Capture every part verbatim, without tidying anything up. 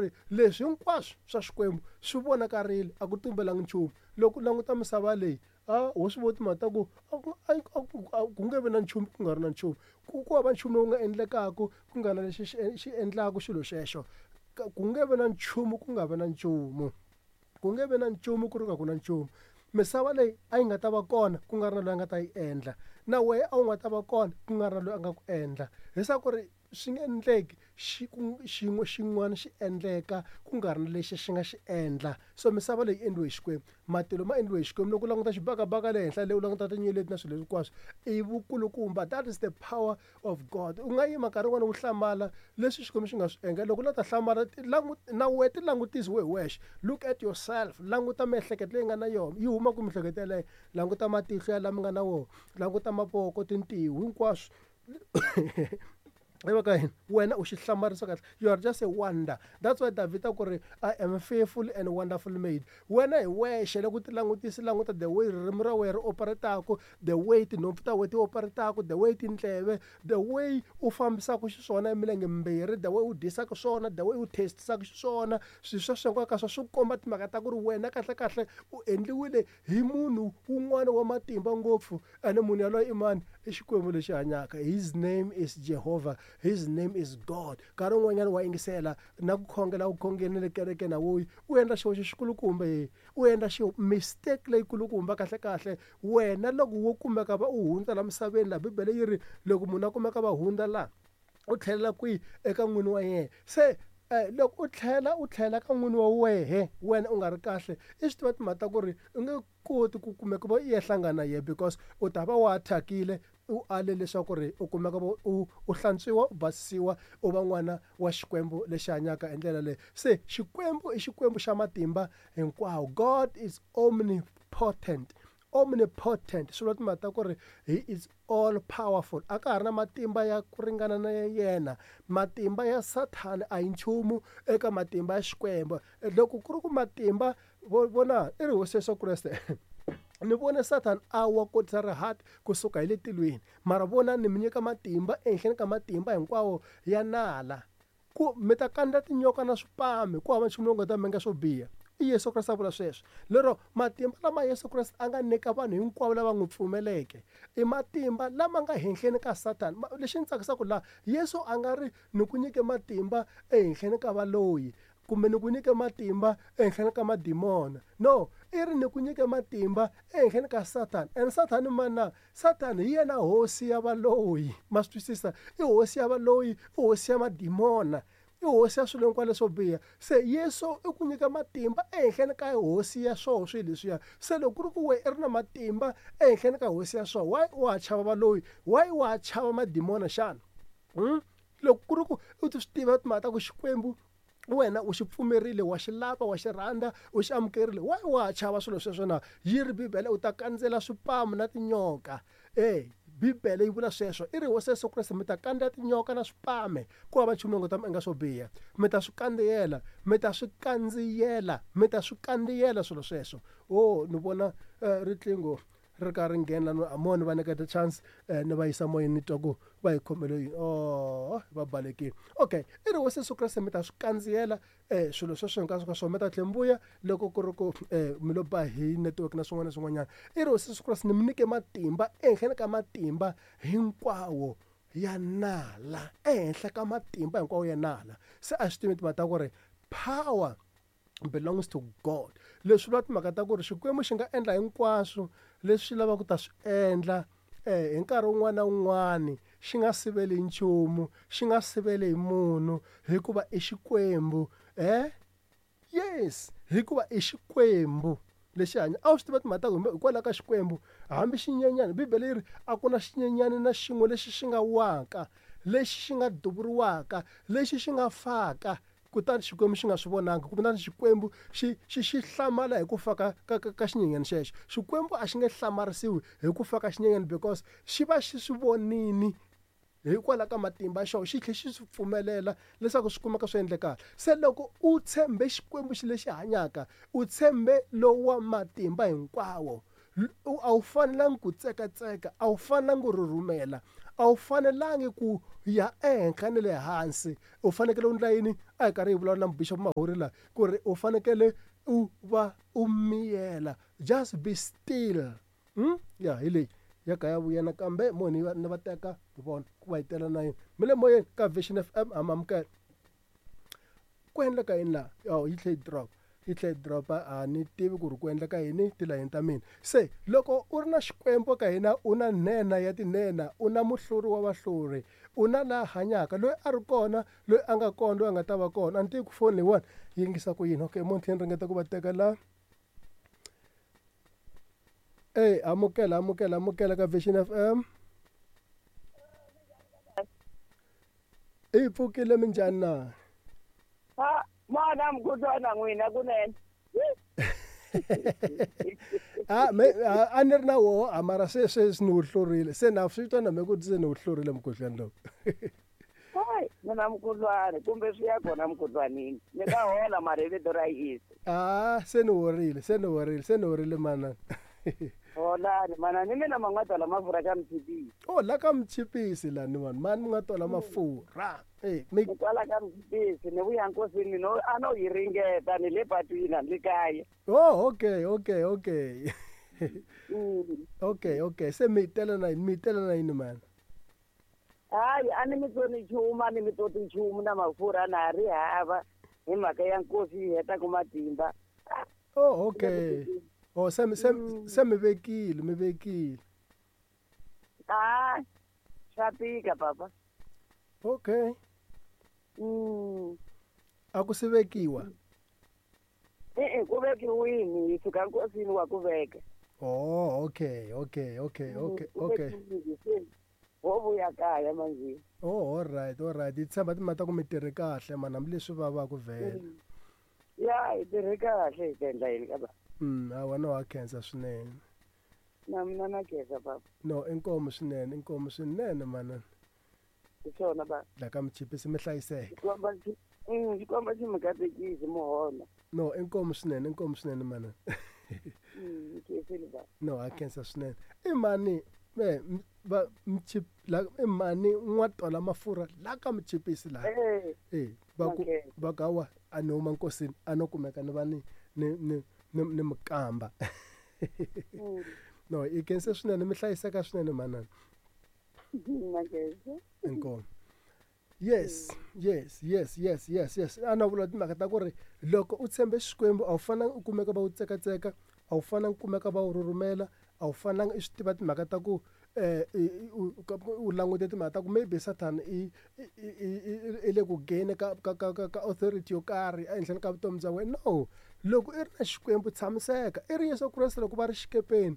ri leswi hinkwaswo swa Xikwembu swi vonakarile, a ku tumbelangi nchumu. Loko u languta misava leyi, a ho swi vona timhaka ta ku a ku a ku nge vi na nchumu ku nga ri na nchumu. Ku ku hava nchumu lowu nga endlekaka ku nga na lexi xi xi endlaka xilo xexo. Ku nge vi na nchumu ku nga vi na nchumu. Ku nge vi na nchumu ku ri nga ku na nchumu. Misava leyi a yi nga ta va kona ku nga ri na loyi a nga ta yi endla. Na wehe a wu nga ta va kona ku nga ri na loyi a nga ku endla. Leswaku ri swi nge endleki xi ku xin'we xin'wana xi endleka ku nga ri na lexi xi nga xi endla. So misava leyi endliwe hi Xikwembu, matilo ma endliwe hi Xikwembu. Loko u languta xibakabaka le henhla le u languta tinyeleti na swilo hinkwaswo i vukulukumba, that is the power of God. U nga yima nkarhi wun'wani u hlamala leswi Xikwembu xi nga swi endla. Loko u lava ta hlamala na wehe ti langutisi wehe hi wexe, look at yourself, languta miehleketo leyi nga na yona, yi huma kwihi miehleketo yeleyo, languta matihlo ya lama nga na wona, languta mavoko, tintiho hinkwaswo. Ka yini wena u xi hlamarisa kahle, you are just a wonder. That's why Davhida ku ri I am fearful and wonderful made. Wena hi wexe loko u ti langutisi, languta the way ririmi ra wena ri operate-aku, the way tinhompfu ta wena ti operate-aku, the way tindleve, the way u fambisaka xiswona hi milenge mimbirhi, the way u dyisaka swona, the way u taste-isaka xiswona. Swilo sweswo hinkwako ka swona swi komba timhaka ta ku ri wena kahlekahle u endliwile hi munhu wun'wana wa matimba ngopfu. Ene munhu yaloye i mani? I Xikwembu lexi hanyaka. His name is Jehovah. His name is God. Nkarhi wun'wanyana wa yingisela na ku khongela u khongeni le kerekeni a wuyi, u endla xihoxo xikulukumba ye, u endla xi mistake leyikulukumba kahle kahle. Wena loko wo kumeka va u hundza la misaveni la, Bibele yi ri loko munhu a kumeka va hundza la, u tlhelela kwihi? Eka n'wini wa yena. Se loko u tlhela u tlhela ka n'wini wa wehe, wena u nga ri kahle, i swi tiva timhaka ta ku ri u nge koti ku kumeka va i ya hlangana na yena, because u ta va wa thyakile, u ale leswaku ri u kumeka u u hlantswiwa, u basisiwa, u va n'wana wa Xikwembu lexi hanyaka hi ndlela leyi. Se Xikwembu i Xikwembu xa matimba hinkwawo. God is omnipotent. Omnipotent swi vula timhaka ta ku ri he is all powerful. A ka ha ri na matimba ya ku ringana na yena. Matimba ya Sathana a hi nchumu eka matimba ya Xikwembu. Loko ku ri ku matimba vona i ri Hosi Yesu Kreste ni vone Sathana a wa kotisa rihati kusuka hi le tilweni, mara vona ni mi nyika matimba ehenhleni ka matimba hinkwawo ya nala, ku mi ta kandza tinyoka na swipame, ku hava nchumu lowu nga ta mi endla swo biha. I Yesu Kreste a vula sweswo. Lero matimba lama Yesu Kreste a nga nyika vanhu hinkwavo lava n'wi pfumeleke i matimba lama nga henhleni ka Sathana. Lexi ni tsakisaka laha, Yesu a nga ri ni ku nyike matimba ehenhleni ka valoyi kumbe ni ku nyike matimba ehenhleni ka madimona. No, i ri ni ku nyike matimba ehenhleni ka Sathana. And Sathana i mani na? Sathana hi yena hosi ya valoyi. Ma swi twisisa? I hosi ya valoyi, i hosi ya madimona, i hosi ya swilo hinkwaswo leswo biha. Se Yesu i ku nyika matimba ehenhleni ka hosi ya swoho swilo leswiya. Se loko ku ri ku wena i ri na matimba ehenhleni ka hosi ya swoho, why wa ha chava valoyi? Why wa ha chava madimona xana? Hmm? Loko ku ri ku u ti swi tiva timhaka ta ku Xikwembu wena u xi pfumerile, wa xi lava, wa xi rhandza, u xi amukerile, why wa ha chava swilo sweswo na? Yi ri Bibele u ta kandzela swipamu na tinyoka. E Bibele yi vula sweswo, i ri Hosi Yesu Kreste mi ta kandzela tinyoka na swipame, ku hava nchumu lowu nga ta mi endla swo biha. Mi ta swi kandziyela, mi ta swi kandziyela, mi ta swi kandziyela swilo sweswo. Oh, ni vona riqingho ri ka ri nghena la, mo ni va nyiketa chance ni va yisa moyeni ni twa ku va hi khomele yini. Oh, va balekile. Okay, i ri Hosi Yesu Kreste mi ta swi kandziyela swilo sweswo hinkwaswo ka swona, mi ta tlhela mi vuya loko ku ri ku mi lo ba hi network na swin'wana na swin'wanyana. I ri Hosi Yesu Kreste ni mi nyike matimba ehenhleni ka matimba hinkwawo ya nala, ehenhla ka matimba hinkwawo ya nala. Se a swi tivi timhaka ta ku ri power belongs to God. Leswi vula timhaka ta ku ri Xikwembu xi nga endla hinkwaswo leswi xi lavaka ku ta swi endla hi nkarhi wun'wana na wun'wani, xi nga siveli nchumu, xi nga siveli hi munhu, hikuva i Xikwembu. Eh? Yes, hikuva i Xikwembu lexi hanya. A wu swi tiva timhaka ta ku hikwalaho ka Xikwembu, hambi xinyenyani, Bibele yi ri a ku na xinyenyani na xin'we lexi xi nga waka, lexi xi nga duvuriwaka, lexi xi nga faka, kutani Xikwembu xi nga swi vonanga, kutani Xikwembu xi xi xi hlamala hi ku fa ka ka ka xinyenyani xexo. Xikwembu a xi nge hlamarisiwi hi ku fa ka xinyenyani because xi va xi swi vonini hikwalaho ka matimba ya xona, xi tlhela xi swi pfumelela leswaku swi kumeka swi endlekaka. Se loko u tshembe Xikwembu xi lexi hanyaka, u tshembe lowa matimba hinkwawo, a wu fanelangi ku tsekatseka, a wu fanelangi ku rhurhumela, A wu fanelangi ku ya ehenhla ni le hansi. U fanekele u endla yini? A hi karhi hi vulavula na Bishop Mahuri laha ku ri u fanekele u va u miyela. Just be still. Hmm? Ya hi leyi ya ka ya vuya nakambe mo ni va ni va teka hi vona ku va hi tela na yini. Mi le moyeni ka Vision F M ha mi amukela. Ku endleka yini laha? Oh, yi tlhe yi drop. Yi tlhe yi drop-a, a ni tivi ku ri ku endleka yini tilayini ta mina. Se loko u ri na Xikwembu ka hina, u na nhenha ya tinhenha, u na muhluri wa vahluri, u na laha hanyaka, loyi a ri kona, loyi a nga kona, loyi a nga ta va kona. A ni tivi ku foni leyiwani yi yingisa ku yini. Okay, mo ni tlhela ni ringeta ku va teka la. Ey, amukela, amukela, amukela ka Vision F M. I pfukile minjhani na? Ha, mwana mkhudlwana n'wina kunene. Ah, me a ni ri na woho, a mara se sweswi ni wu hlurile. Se na swi twa na me ku se ni wu hlurile mukhuhlwani lowu. Hayi, mina mukhuhlwani kumbe swi ya kona mukhuhlwanini. Ni nga hola mara hi vito ra Yesu. Ah, se ni horile, se ni horile, se ni horile manana. Holani manana, ni mina ma nga tola mafurha ka mchipisi. Oh, la ka mchipisi la ni vanhu, mani mi nga tola mafurha. Eh, mi kwala ka mchipisi ni vuya nkosini no a no yi ringeta ni le patwini ni le kaya. Oh, okay, okay, okay. Mm. Okay, okay. Se mi tela na yini, mi tela na yini man? Hayi, a ni mi tsoni nchumu, a ni mi toti nchumu na mafurha na ha ri hava hi mhaka ya nkosi yi hetaka matimba. Oh, okay. Oh, se mi, se, se mi vekile, mi vekile. Ah, swa tika papa. Okay. Mm. A ku si vekiwa? E-e, ku vekiwini, hi suka nkosini wa ku veka. Oh, okay, okay, okay, okay, okay. Ho vuya kaya manje. Oh, all right, all right. Hi tshemba timhaka ta ku mi tirhe kahle man, hambileswi vavaka vhele. Ya, hi tirhe kahle hi ta endla yini ka ba? Mm, hawa no wa khensa swinene. Na mina na khensa papa. No, inkomu swinene, inkomu swinene manana. Hi swona ba. La ka mchipisi mi hlayiseka. Xikomba xi, mm, xikomba xi mi katekisi muhola. No, inkomu swinene, inkomu swinene manana. Mm, khensile ba. No, a khensa swinene. I mani me va mchip la i mani n'wa tola mafurha la ka mchipisi la. Eh. Eh, va ku va ka wa a no huma nkosini a no kumeka ni va ni ni ni ni ni mukamba. No, i khensa swinene, mi hlayiseka swinene manana. Inkomu. Yes, yes, yes, yes, yes, yes. A na vula timhaka ta ku ri loko u tshembe Xikwembu a wu fanelanga u kumeka va wu tsekatseka, a wu fanelanga u kumeka va wu rhurhumela, a wu fanelanga i swi tiva timhaka ta ku eh u langute timhaka ta ku maybe Satan i i le ku gain ka ka ka ka authority yo karhi ehenhleni ka vutomi bya wena. No, loko i ri na Xikwembu tshamiseka. I ri Yesu Kreste loko va ri xikepeni,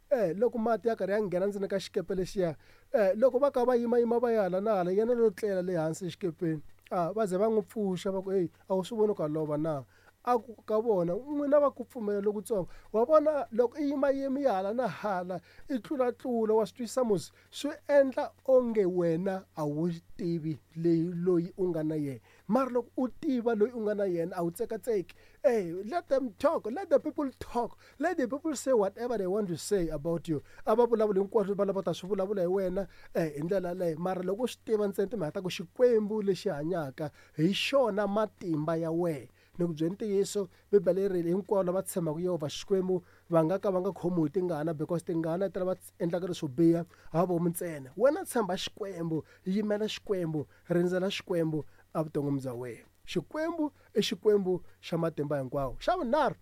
eh loko mati ya karhi ya nghena ndzeni ka xikepe lexiya, eh loko va ka va yima yima va ya hala na hala, yena lo tlela le hansi exikepeni. Ah, va ze va n'wi pfuxa va ku hey, a wu swi voni ka lova na? A ku ka vona n'wina va ku pfumela lokutsongo. Wa vona loko i yima yimi ya hala na hala, i tlula tlula wa swi twisisa musi, swi endla onge wena a wu tivi leyi loyi u nga na yena. Mara loko u tiva loyi u nga na yena a wu tsekatseki. Hey, let them talk, let the people talk, let the people say whatever they want to say about you. A va vulavuli hinkwaswo va lava ta swi vulavula hi wena eh hi ndlela leyi. Mara loko u swi tiva ntsena timhaka ta ku Xikwembu lexi hanyaka hi xona matimba ya wena. Ni ku byela ntiyiso, Bibele yi ri hinkwavo lava tshembaka Yehovha Xikwembu va nga ka va nga khomiwi hi tingana, because tingana ti lava endlaka leswo biha ha vomu ntsena. Wena tshemba Xikwembu, yimela Xikwembu, rindzela Xikwembu evuton'wini bya wena. Xikwembu i Xikwembu xa matimba hinkwawo. Xa vunharhu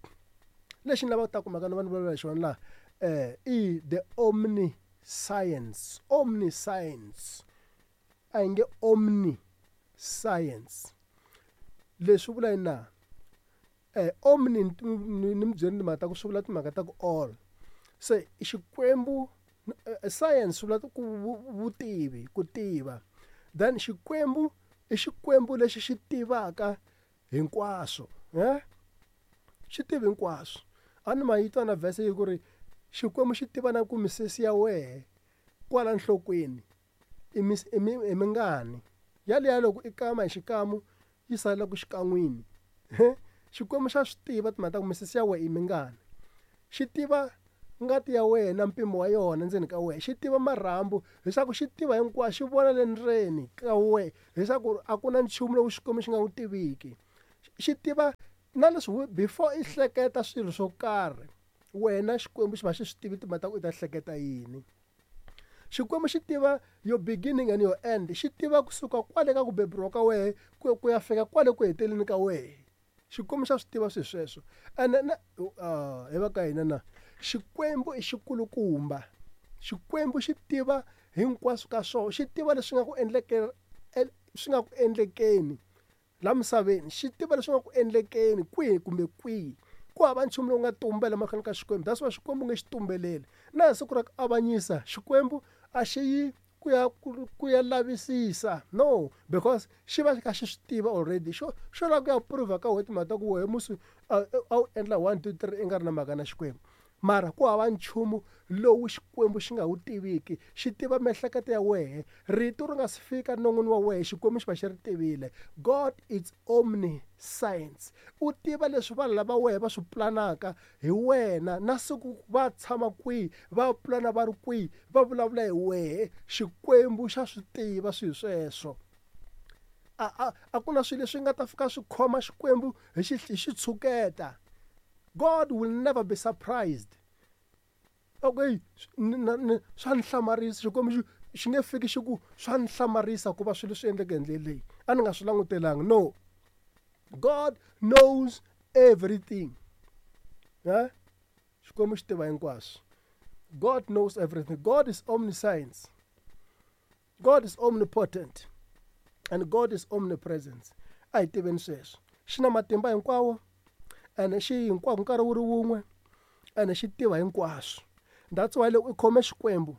lexi ni lavaka ta kumeka ni va ni vulavula hi xona laha, eh i the omniscience. Omniscience. A hi nge omniscience. Leswi vula yini na? Eh omni ni mi byeli timhaka ta ku swi vula timhaka ta ku all. Se Xikwembu science swi vula ku vutivi, ku tiva. Then Xikwembu i Xikwembu lexi xi tivaka hinkwaswo, eh? Xi tiva hinkwaswo. A ni ma yi twa na verse yi ku ri Xikwembu xi tiva na ku misisi ya wehe kwala nhlokweni i i mingani. Yaliya loko i kama hi xikamu yi sala ku xikan'wini. Xikwembu xa swi tiva timhaka ta ku misisi ya wehe i mingani. Xi tiva ngati ya wena mpimo wa yona ndzeni ka wena, xi tiva marhambu, leswaku xi tiva hinkwaswo, xi vona le ndzeni ka wena, leswaku a ku na nchumu lowu Xikwembu xi nga wu tiviki. Xi tiva na leswi before i hleketa swilo swo karhi, wena Xikwembu xi va xi swi tivi timhaka ta ku i ta hleketa yini. Xikwembu xi tiva your beginning and your end, xi tiva kusuka kwale ka ku beburiwa ka wehe ku ku ya fika kwale ku heteleni ka wehe. Xikwembu xa swi tiva swilo sweswo. Ene na uh, hi va ka hina na Xikwembu i xikulukumba. Xikwembu xi tiva hinkwaswo ka swona, xi tiva leswi nga ku endleke swi nga ku endlekeni la misaveni, xi tiva leswi nga ku endlekeni kwihi kumbe kwihi. Ku hava nchumu lowu nga tumbela mahlweni ka Xikwembu. That's why Xikwembu nge xi tumbeleli. Na hi siku ra ku avanyisa, Xikwembu a xi yi ku ya ku ya lavisisa, no, because xi va xi kha xi swi tiva already. Xo xo lava ku ya prove ka wena timhaka ta ku wehe musi a wu endla one two three i nga ri na mhaka na Xikwembu. Mara ku hava nchumu lowu Xikwembu xi nga wu tiviki, xi tiva miehleketo ya wehe. Rito ri nga si fika non'wini wa wehe, Xikwembu xi va xi ri tivile. God is omniscience. U tiva leswi vanhu lava wehe va swi planaka hi wena, na siku va tshama kwihi, va plana va ri kwihi, va vulavula hi wehe. Xikwembu xa swi tiva swilo sweswo. A a a ku na swilo leswi nga ta fika swi khoma Xikwembu hi xi hi xitshuketa. God will never be surprised. Okay, swa ni hlamarisa Xikwembu xi xi nge fiki xi ku swa ni hlamarisa ku va swilo swi endleke hi ndlela leyi, a ni nga swi langutelanga. No, God knows everything. Ha? Xikwembu xi tiva hinkwaswo. God knows everything. God is omniscience. God is omnipotent and God is omnipresent. A hi tiveni sweswo. Xi na matimba hinkwawo ene xi hinkwako nkarhi wu ri wun'we, ene xi tiva hinkwaswo. That's why loko i khome Xikwembu,